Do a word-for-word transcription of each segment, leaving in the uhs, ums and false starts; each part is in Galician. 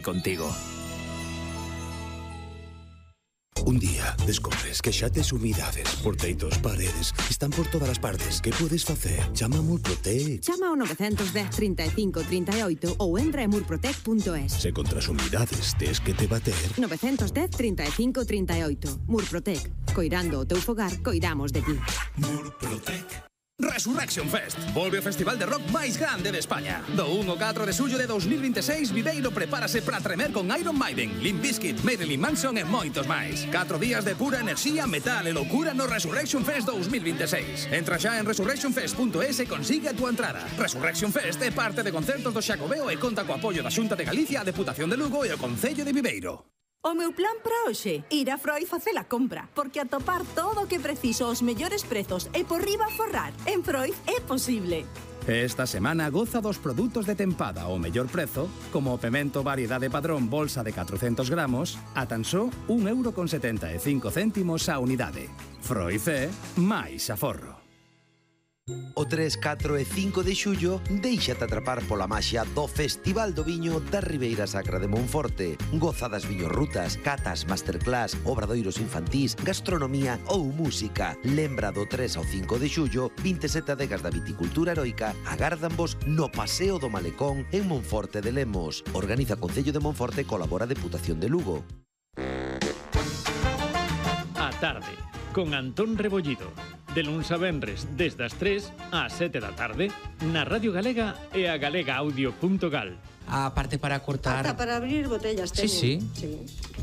contigo. Un día descubres que xa tes humidades por teitos, paredes, están por todas as partes. Que podes facer? Chama a Murprotec. Chama ao nove un cero, trinta e cinco, trinta e oito ou entra en murprotec punto es. Se contra as humidades tes que te bater. nove un cero, trinta e cinco, trinta e oito. Murprotec. Coirando o teu fogar, coidamos de ti. Murprotec. Resurrection Fest. Volve o festival de rock máis grande de España. Do un ao catro de xullo de dos mil vinte e seis, Viveiro prepárase para tremer con Iron Maiden, Limp Bizkit, Marilyn Manson e moitos máis. Catro días de pura enerxía, metal e loucura no Resurrection Fest dos mil vinte e seis. Entra xa en resurrection fest punto es e consigue a túa entrada. Resurrection Fest é parte de concertos do Xacobeo e conta co apoio da Xunta de Galicia, a Deputación de Lugo e o Concello de Viveiro. O meu plan para hoxe, ir a Freud facer a compra, porque atopar todo o que preciso aos mellores prezos e por riba forrar, en Freud é posible. Esta semana goza dos produtos de tempada ao mellor prezo, como o pemento variedade padrón bolsa de catrocentos gramos, a tan só un euro con setenta e cinco céntimos a unidade. Freud é máis aforro. O tres, catro e cinco de xullo, déixate atrapar pola maxia do Festival do Viño da Ribeira Sacra de Monforte. Goza das viñorrutas, catas, masterclass, obradoiros infantís, gastronomía ou música. Lembra do tres ao cinco de xullo, vinte e sete adegas da viticultura heroica agárdanvos no Paseo do Malecón en Monforte de Lemos. Organiza Concello de Monforte e colabora a Deputación de Lugo. A tarde, con Antón Rebollido. De luns a venres, desde as tres ás sete da tarde, na Radio Galega e a galega audio punto gal. A parte para cortar... Ata para abrir botellas teñen. Sí, sí. sí.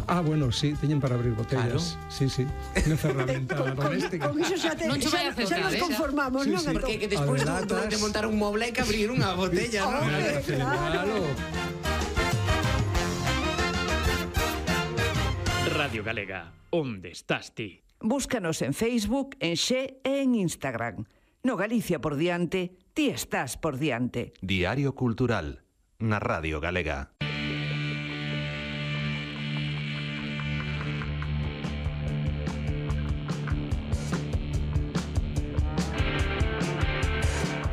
Ah, bueno, sí, teñen para abrir botellas. Claro. Sí, sí. Unha ferramenta con, doméstica. Con, con iso xa, te, Non che vai a xa, xa nos acertar, eh, conformamos, sí, non? sí. Porque que despois Adelantas. de, de montar un moble hai que abrir unha botella, non? Hombre, Claro. Radio Galega, onde estás ti? Búscanos en Facebook, en Xe e en Instagram. No Galicia por diante, ti estás por diante. Diario Cultural, na Radio Galega.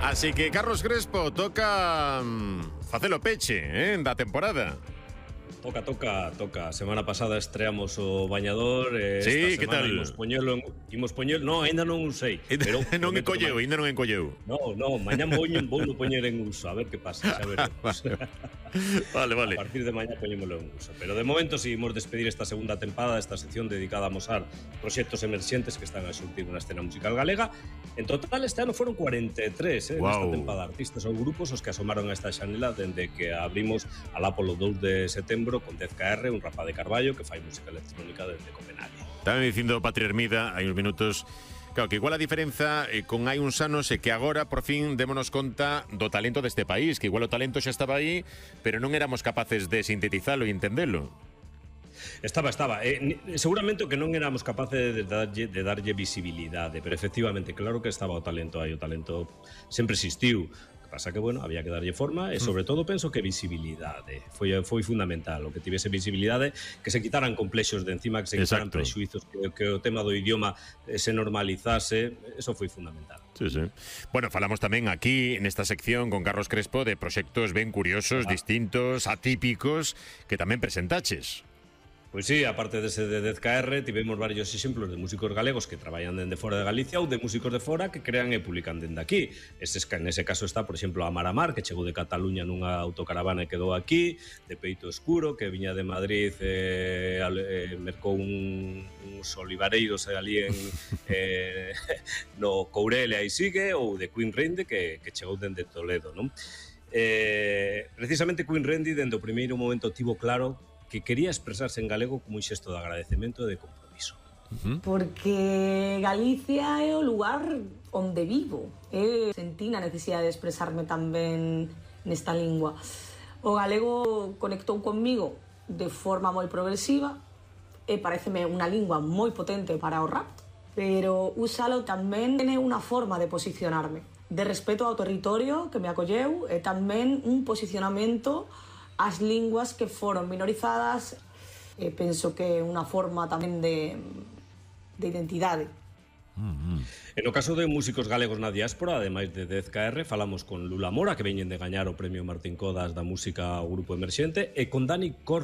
Así que Carlos Crespo toca um, facelo peche, eh, da temporada. Toca, toca, toca. Semana pasada estreamos o Bañador e sí, esta que semana tal? imos poñelo, en, imos poñelo, no, ainda non usei. Pero non encolleu, ainda non encolleu. No, no, mañá voño, vou no poñer en uso, a ver que pasa, xa veremos. Vale, vale. A partir de mañá poñémolo en uso. Pero de momento si imos despedir esta segunda tempada, esta sección dedicada a mostrar proxectos emerxentes que están a xurtir na escena musical galega. En total este ano foron cuarenta e tres, eh, wow. nesta tempada, artistas ou grupos os que asomaron a esta xanela dende que abrimos alá polo dous de setembro con dez K R, un rapaz de Carballo que fai música electrónica desde Copenhague. Estaba dicindo Patri Hermida hai uns minutos, claro, que igual a diferenza eh, con hai uns anos é que agora por fin démonos conta do talento deste país, que igual o talento xa estaba aí, pero non éramos capaces de sintetizalo e entendelo. Estaba, estaba. Eh, seguramente o que non éramos capaces de darlle, de darlle visibilidade, pero efectivamente, claro que estaba o talento aí, o talento sempre existiu. Pasa que, bueno, había que darlle forma e, sobre todo, penso que visibilidade. Foi, foi fundamental o que tivese visibilidade, que se quitaran complexos de encima, que se quitaran Exacto. prexuizos, que, que o tema do idioma se normalizase. Eso foi fundamental. Sí, sí. Bueno, falamos tamén aquí, nesta sección, con Carlos Crespo, de proxectos ben curiosos, ah. distintos, atípicos, que tamén presentaches. Pois sí, aparte dese de dez K R, tivemos varios exemplos de músicos galegos que traballan dende fora de Galicia ou de músicos de fora que crean e publican dende aquí. Ese, nese caso está, por exemplo, Amar Amar, que chegou de Cataluña nunha autocaravana e quedou aquí, de Peito Escuro, que viña de Madrid e eh, mercou un, uns olivareiros ali en, eh, no Courel e aí sigue, ou de Queen Rende, que, que chegou dende Toledo, non? Eh, precisamente Queen Rende, dende o primeiro momento, tivo claro que quería expresarse en galego como un xesto de agradecemento e de compromiso. Uh-huh. Porque Galicia é o lugar onde vivo. Eu sentí a necesidade de expresarme tamén nesta lingua. O galego conectou conmigo de forma moi progresiva e pareceme unha lingua moi potente para o rap, pero úsalo tamén é unha forma de posicionarme, de respeto ao territorio que me acolleu e tamén un posicionamento as linguas que foron minorizadas. E penso que é unha forma tamén de, de identidade. E no caso de músicos galegos na diáspora, ademais de dez K R, falamos con Lula Mora, que veñen de gañar o premio Martín Codas da música ao Grupo Emerxente, e con Dani Cor